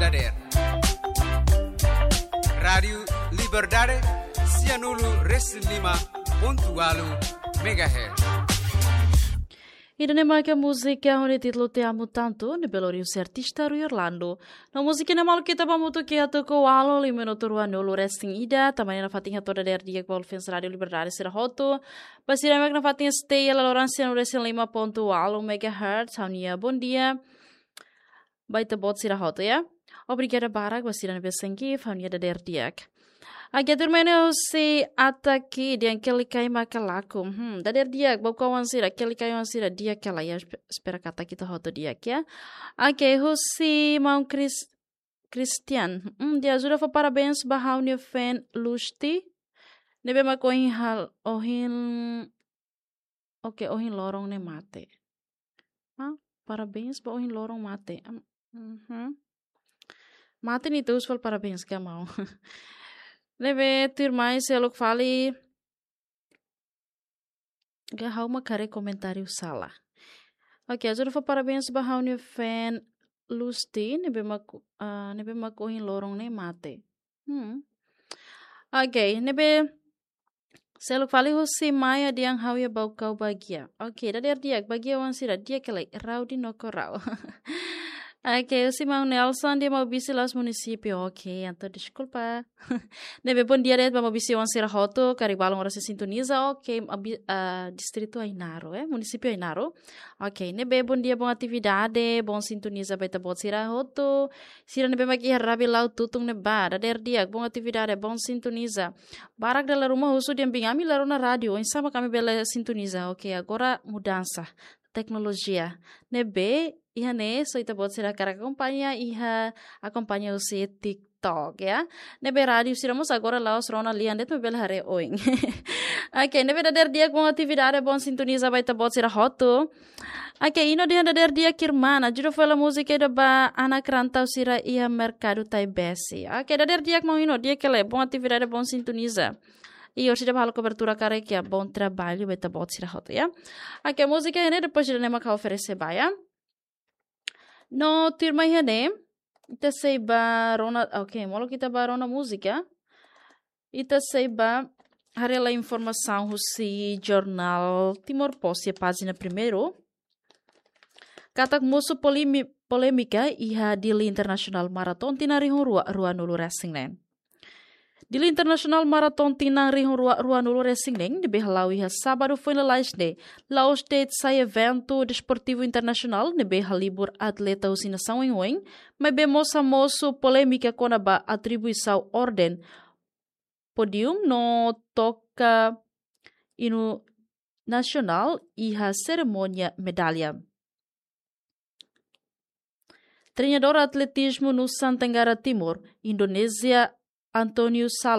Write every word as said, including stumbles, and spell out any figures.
Dader. Rádiu Liberdade, sianulu resin lima pontu ualu megahertz. Ida-ne'e maka múzika ho nia títulu Te Amo Tanto, ne'ebé lori husi artista Rui Orlando. No múzika ne'e maluk ita bá hamutuk iha tuku ualu, lima minutu ruanulu resin ida, tanba ne'e nafatin hato'o dader di'ak ba fans Rádiu Liberdade sira hotu. Ba sira mak nafatin stay iha laloran sianulu resin lima pontu ualu megahertz, ha'u-nia bondia ba ita-boot sira hotu ya. Obrigada barak ba sira ne'ebé sente, ha'u-nia dader di'ak. Oke, tuirmai ne'e husi Ataki dehan Kelikai maka laku. Hmm, dader di'ak, Baucau-oan sira, Kelikai-oan sira, di'ak ka lae ya, espe-, espera katak ita hotu di'ak ya. Oke, husi maun Chris-, Christian. Hmm, dehan ajuda fó parabéns ba ha'u-nia fan Lusti. Ne'ebé mak ohin hal-, ohin Oke, ohin loron ne'e mate. Ah, parabéns ba ohin loron mate. Am, mhm. Mate ne'e ita husu fali parabéns ka maun. Ne'ebé tuirmai seluk fali. Ka ha'u mak haree komentáriu sala. Oke, ajuda fó parabéns ba ha'u-nia fan Lusti, ne'ebé mak, ah, ne'ebé mak ohin loron ne'e mate. Hmm. Oke, ne'ebé seluk fali husi Maia dehan ha'u iha Baucau bagian. Oke, dader di'ak, bagian-oan sira di'ak ka lae, Raudi no Korau. Oke, husi maun Nelson dehan Maubisse la'ós munisípiu. Oke, entaun deskulpa. Ne'ebé bondia de'it ba Maubisse-oan sira hotu, karik balun oras sei sintoniza. Oke, Maubisse, ah, distritu Ainaro, eh, munisípiu Ainaro. Oke, ne'ebé bondia, bon atividade, bon sintoniza ba ita-boot sira hotu. Sira ne'ebé mak iha Rabilau Tutun ne'ebá, dader di'ak, bon atividade, bon sintoniza. Barak dala ruma husu dehan biin ami la rona rádiu, oinsá mak ami bele sintoniza. Oke, agora mudansa teknolojia. Ne'ebé iha ne'e, só ita-boot sira hakarak akompaña, iha akompaña husi TikTok ya. Ne'ebé rádiu sira mós agora la'ós rona lian de'it, maibé bele haree oin. Oke, ne'ebé dader di'ak, bon atividade, bon sintoniza ba ita-boot sira hotu. Oke, Ino dehan dader di'ak irmán, ajuda fó hela múzika ida ba anak rantau sira iha merkadu Taibesi. Oke, dader di'ak maun Ino, di'ak ka lae, bon atividade, bon sintoniza. I orsida ba halo kobertura karik ya, bon traballu ba ita-boot sira hotu ya. Oke, múzika ne'e depois ida-ne'e mak ha'u oferese ba ya. No tuirmai iha ne'e, ita sei bá rona, oke, molok ita bá rona múzika. Ita sei bá haree hela informasaun husi jornál Timor Post iha pájina primeiru. Katak mosu polemi-, polémika iha Dili International Marathon tinan rihun rua, ruanulu resin neen. Dili International Marathon tinan rihun rua, ruanulu resin neen, ne'ebé hala'o iha sábadu foin lalais ne'e, la'ós de'it sai eventu desportivu internasionál ne'ebé halibur atleta husi nasaun oioin, maibé mós hamosu polémika kona-ba atribuisaun orden pódiu no toka inu nasionál iha serimónia medalla. Treinadór atletizmu Nusa Tenggara Timur, Indonézia, António Salo,